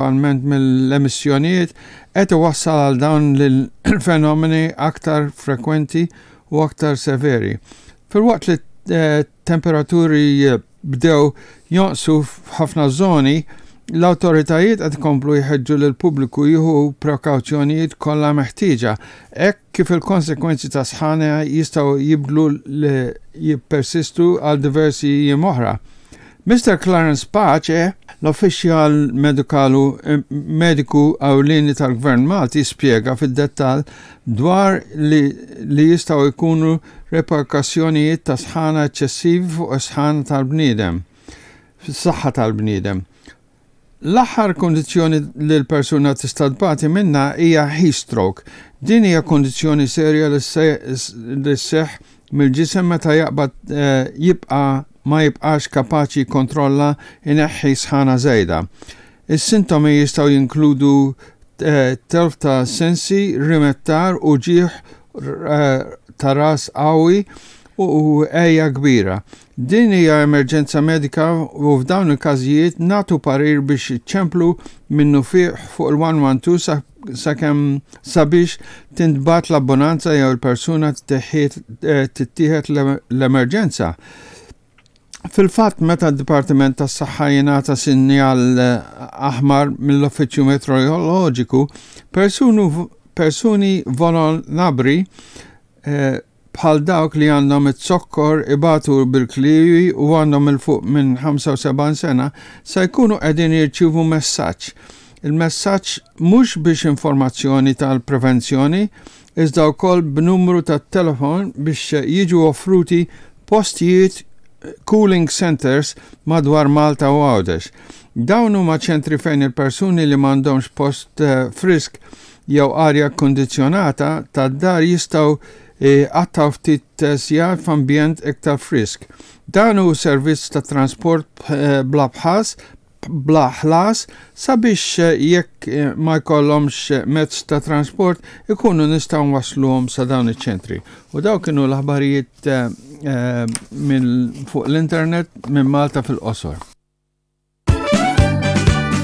Prinċipalment mill-emissjonijiet, qed iwassal għal dawn l-fenomeni aktar frekwenti u aktar severi. Filwaqt li t-temperaturi bdew jonqsu f'ħafna żoni, l-awtoritajiet qed ikomplu jħeġġu lill-pubbliku jieħu prekawzjonijiet kollha meħtieġa hekk kif il-konsegwenzi ta' sħana jistgħu jibdlu li jippersistu għal diversi jiem oħra. Mister Clarence Pace, l-uffiċjal medikalu mediku ewlieni tal-Gvern Malti spjega fid-dettall dwar li li jistgħu jkunu reperkussjonijiet ta' sħana eċċessivi fuq is-sħana tal-bniedem, fis-saħħa tal-bniedem. L-aħħar kundizzjoni li l-persuna tista' tbati minnha hija heat stroke. Din hija kundizzjoni serja li sseħħ mill-ġisem meta jaqbad jibqa' ma jibqax kapaċi jikkontrolla jneħħi sħana żejda. Is-sintomi jistgħu jinkludu telf ta' sensi, rimettar, uġigħ ta' ras qawwi u għeja kbira. Din hija emerġenza medika u f'dawn il-każijiet nagħtu parir biex iċċemplu minnufih fuq il-112 sakemm sabiex tintbagħat l-abbonanza jew il-persuna tittieħed l-emerġenza. Fil-fatt, meta d-Dipartiment tas-Saħħa jingħata sinjal aħmar mill-Uffiċċju Meteoroloġiku, persuni vulnerabbli bħal dawk li għandhom iz-zokkor, ibatu bil-kliewi u għandhom 'il fuq minn 75 sena, se jkunu qegħdin jirċievu messaġġ. Il-messaġġ mhux biex informazzjoni tal-prevenzjoni, iżda wkoll b'numru tat-telefon biex jiġu offruti postijiet cooling centres madwar Malta u Għawdex. Dawn huma ċentri fejn il-persuni li m'għandhomx post frisk jew arja kkundizzjonata tad-dar jistgħu jqattgħu ftit sigħat f'ambjent iktar frisk. Dan hu servizz ta' transport bla bħas bla ħlas sabiex jekk ma jkollhomx mezz ta' transport ikunu nistgħu nwassluhom sa dawn iċ-ċentri. U dawn kienu l-aħbarijiet minn fuq l-internet minn Malta fil-qosor.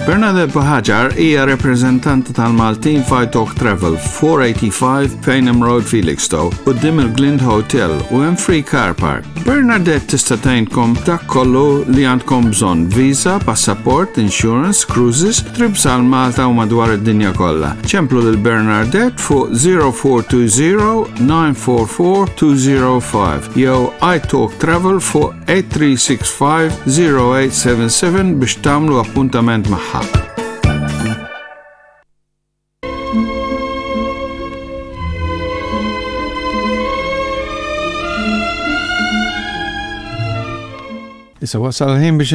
Bernadette Buhagiar hija rappreżentanta tal-Maltin f'Italk Travel, 485 Payneham Road, Felixstowe, quddiem il-Glind Hotel u hemm free car park. Bernadette tista' tgħinkom dak kollu li għandkom bżonn, visa, passaport, insurance, cruises, trips għal Malta u madwar id-dinja kollha. Ċemplu lil Bernadette fuq 0420 944 205 jew iTalk Travel fuq 8365 0877 biex tagħmlu appuntament magħha. Issa wasal il-ħin biex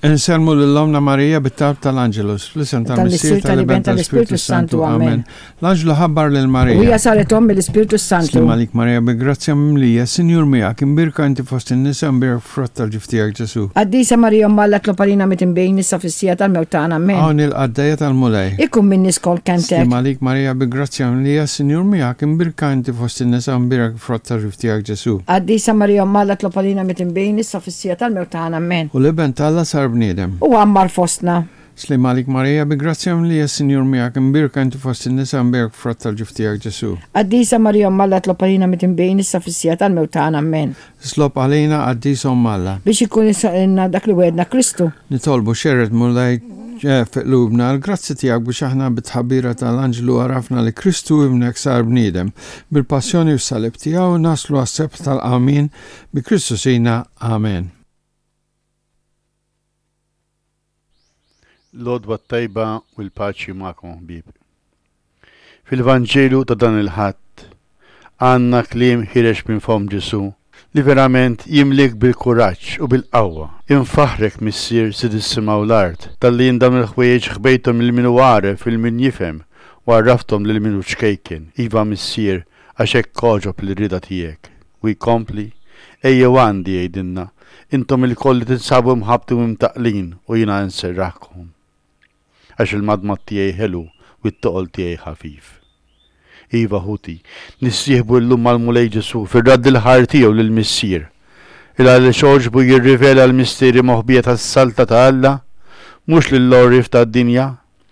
insellmu lil Omna Marija bit-talb tal-Angelus, fl-isem tal-Missier tal-Iben tal-Ispirtu Santu. Amen. L-anġlu ħabbar lil Marija. U hija saret omm mill-Ispirtu s-Santu. Sliem għalik Marija bi grazzja mimlija, Sinjur miegħek, imbierka inti fost in-nisa, imbierek frott tal-ġuf tiegħek Ġesù. Qaddisa Marija Omm Alla tlob għalina midinbin issa fis-siegħa tal-mewt tagħna. Amen. Hawn il-qaddejja tal-Mulej. Ikun minni skont kelmtek. Sliem għalik Marija bi grazzja mimlija, Sinjur miegħek, imbierka inti fost in-nisa, imbierek frott tal-ġuf tiegħek Ġesù. Qaddisa Marija Omm Alla tlob għalina midinbin issa fis-siegħa tal-mewt tagħna. Amen. U l-Iben t'Alla sar bniedem. U għammar fostna. Sliem għalik Marija, bi grazzja mimlija s-Sinjur miegħek, imbierka inti fost in-nisa, imbierek frott tal-ġuf tiegħek Ġesù. Qaddisa Marija Omm Alla tlob għalina midinbin issa fis-siegħa tal-mewt tagħna. Ammen. Itlob għalina Qaddisa Omm Alla. Biex ikun lilna dak li wegħedna Kristu. Nitolbu, xerred Mulej fi qlubna l-grazzi tiegħek biex aħna bit-tħabbira ta' l-anġlu għarafna li Kristu Ibnek sar bniedem. Bil-passjoni u s-salib tiegħu naslu għas-sebħ tal-qawmien bi Kristu Sidna. Amen. L-għodwa t-tajba u l-paċi magħkom ħbieb. Fil-Vanġelu ta' dan il-Ħadd għandna kliem ħireġ minn fomm Ġesù li verament jimliek bil-kuraġġ u bil-qawwa. Infaħħrek, Missier, Sid is-sema u l-art, talli jien dawn il-ħwejjeġ ħbejthom lil min hu għaref u lil min jifhem u għarrafthom lil min hu ċkejken. Iva, Missier, għax hekk għoġob lir-rieda tiegħek. U jkompli, Ejjew għandi, jgħidilna, intom ilkoll li tinsabu mħabbtin u mtaqqlin, u jiena nserraħkom. Għax il-madmad tiegħi ħelu u t-toqol tiegħi ħafif. Iva, ħuti, nissieħbu llum mal-Mulej Ġesù fir-radd il-ħajr tiegħu lill-Missier, il għaliex għoġbu jirrivela l-misteri moħbija tas-Saltna ta' Alla, mhux lill-għorrief tad-dinja.